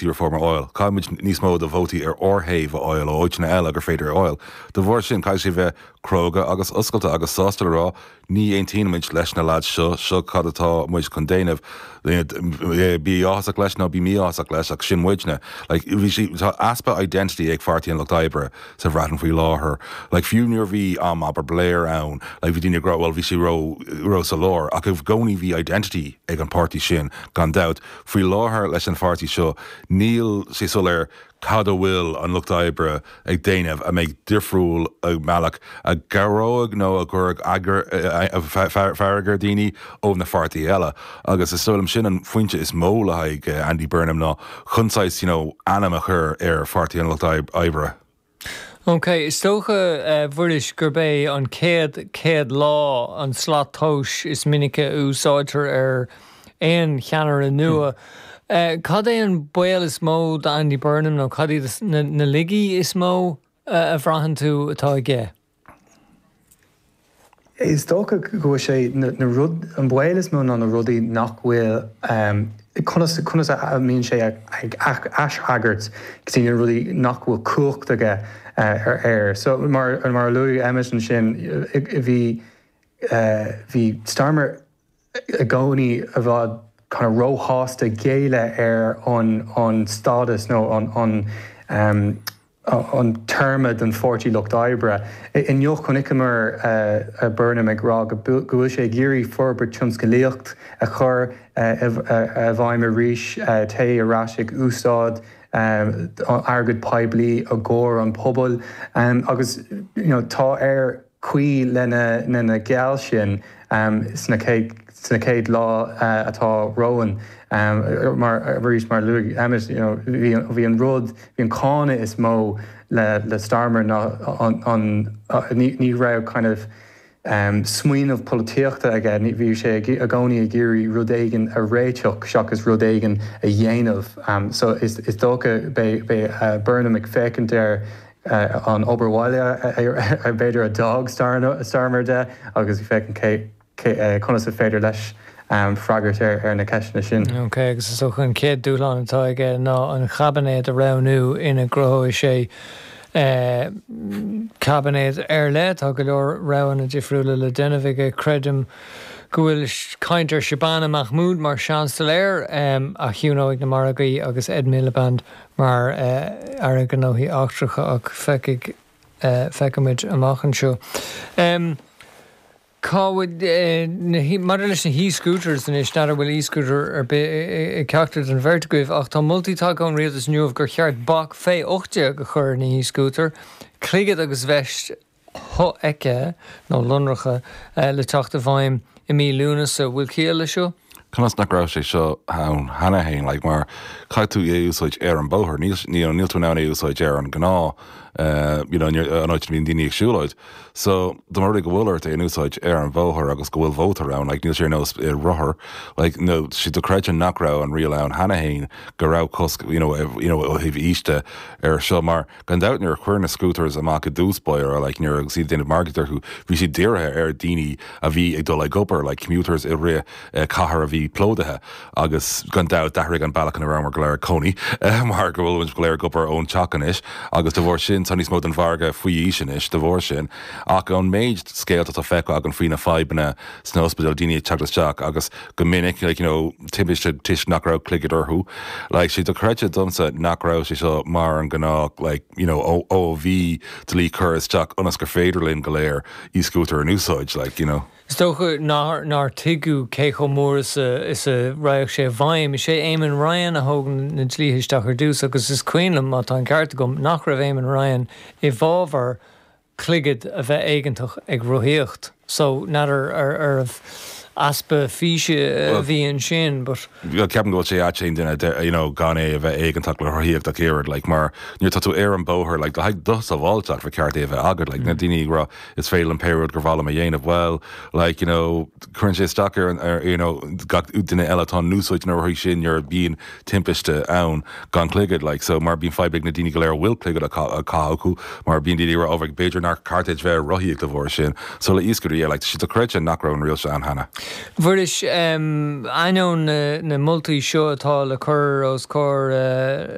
Reform a fháil. Caithfidh muid níos mó de vótaí ar ár thaobh a fháil ó áiteanna eile gur féidir a fháil. De bharr sin, caithfidh sé bheith cróga agus oscailte agus sásta le rá, ní aontaíonn muid leis na lads seo, seo cad atá muid chun déanamh. Bí áthasach leis nó bí mí-áthasach leis ach sin muidne. Like, bhí sé, tá easpa identity ag Pháirtí an Lucht Oibre sa Bhreatain faoi láthair. Like, fiú nuair a bhí am, abair, Blair ann, like, bhí daoine ag rá, well, bhí sé ró, ró sa lár, ach i gcónaí bhí identity ag an páirtí sin, gan dabht. Faoi láthair leis an pháirtí seo, níl sé soiléir cad a bhfuil an Lucht Oibre ag déanamh a mbeidh difriúil i mbealach a gcabhróidh nó a gcuirfeadh fearg ar dhaoine ó na pháirtithe eile. Agus is dóigh liom sin an phointe is mó le haghaidh Andy Burnham ná chun saghas you know ainm a chur ar Pháirtí an Lucht Oibre. Ok, is dócha, a Mhuiris, gurb é an chéad 100 lá an slat tomhais is minice a úsáidtear ar aon cheannaire nua. Cad é an baol is mó d'Andy Burnham nó cad iad na laigí is mó a bhraitheann tú atá aige? Is dócha go bhfuil sé na rud, an baol is mó ná na rudaí nach bhfuil, conas, conas a mbíonn sé ag aisfhreagairt go dtí na rudaí nach bhfuil cumhacht aige air. So mar, mar a luaigh Emmet ansin, bhí, bhí Starmer i gcónaí i bhfad kind of róshásta géilleadh ar an, an stádas nó an, an, an téarma don Pháirtí Lucht Oibre. Inniu chonaiceamar Burnham ag rá go bhfuil sé ag iarraidh forbairt tionscalaíocht a chur i bhfeidhm arís, téigh ar ais ag úsáid airgead poiblí i gcomhair an pobail agus tá air cloí lena gheall sin sna chéad lá atá romhainn. Mar arís, mar a luaigh Emmet, bhí an rud, bhí an cáineadh is mó le Starmer ná an, ní raibh kind of smaoineamh polaitíochta aige, bhí sé i gcónaí ag iarraidh rud éigin a réiteach seachas rud éigin a dhéanamh. So is dócha beidh Burnham ag féachaint ar an obair bhaile b'fhéidir a d'fhág Starmer de agus féachaint conas is féidir leis freagairt ar na ceisteanna sin. Ok, agus is dócha an chéad dúshlán atá aige ná an chaibinéad a roghnú ina gcruthóidh sé caibinéad ar leith. Tá go leor roghanna difriúla le déanamh aige. Creidim go bhfuil caint ar Shabana Mahmood mar Seansailéir a chiúnóidh na margaí agus Ed Miliband mar Aire Gnóthaí Eachtracha ach feicfidh, feicfimid amach anseo. Cá bhfuil na, maidir leis na h-e-scooters anois, n'fheadar an bhfuil e-scooter ar bith ag ceachtar den bheirt agaibh ach tá moltaí tagtha ón Rialtas inniu gur cheart bac fé 18 a chur ar na h-e-scooter, cloigead agus veist shofheicthe nó lonracha le teacht i bhfeidhm i mí Lúnasa. Bhfuil ciall leis seo? Conas nach raibh sé seo ann cheana fhéin? Like, mar caithfidh tú é a úsáid ar an bóthar. Níl, you know, níl tú in ann é a úsáid ar an gnáth, you know, an áit a mbíonn daoine ag siúlóid. So, dá mba rud é go bhfuil ort é in úsáid ar an bhóthar agus go bhfuil bóthar ann, like, níl sé ar nós rothar, like, nó tá sé dochreidte nach raibh an riail ann cheana fhéin go raibh cosc, you know, you know, ó thaobh aois de ar seo mar, Gan dabht nuair a cuireadh na scooters amach i dtús báire, like nuair agus iad ag déanamh margaíocht orthu, bhí siad dírithe ar daoine a bhí ag dul ag obair, like commuters i rith cathair a bhí plódaithe. Agus gan dabht d'athraigh an bealach ina rabhamar go léir ag cónaí mar go bhfuil muid go léir ag obair ón teach anois agus de bharr sin tá níos mó den mhargadh faoi aois anois de bharr sin. Ach an méid scéalta atá feicthe againn faoi na fadhbanna sna hospidéil, daoine ag teacht isteach agus go minic, like, you know, timpiste toisc nach raibh cloigead orthu. Like, sé dochreidte domsa nach raibh sé seo mar an gnách, like, you know, ó, ó a bhí dlí curtha isteach ionas gur féidir linn go léir e-scooter in úsáid, like, you know. Is dócha nár, nár tuigeadh cé chomh mór is a, is a raghadh sé i bhfeidhm. Is é Eamon Ryan a thóg na dlíthe isteach ar dtús agus is cuimhin liom, má tá an ceart agam, nach raibh Eamon Ryan i bhfabhar cloigead a bheith éigeantach ag rothaíocht so n'fheadar arbh easpa físe a bhí ansin but. Ceapaim go bhfuil sé ait aon duine you know gan é a bheith éigeantach le rothaíocht ach oiread like mar nuair atá tú ar an bóthar like le haghaidh do sábháilteacht ba cheart é a bheith agat like na daoine ag rá is féidir liom pé rud gur mhaith liom a dhéanamh well like you know cuireann sé isteach ar an ar you know gach duine eile atá in úsáid na rothaí sin nuair a bhíonn timpiste ann gan cloigead like so mar bíonn fadhb ag na daoine go léir a bhfuil cloigead á caitheamh acu mar bíonn daoine ag rá oh b'fhéidir nár cheart duit bheith ag rothaíocht de bharr sin so le e-scooter yeah like tá sé dochreidte nach raibh an riail seo ann cheana. Mhuiris, ainneoin na moltaí seo atá le cur os comhair.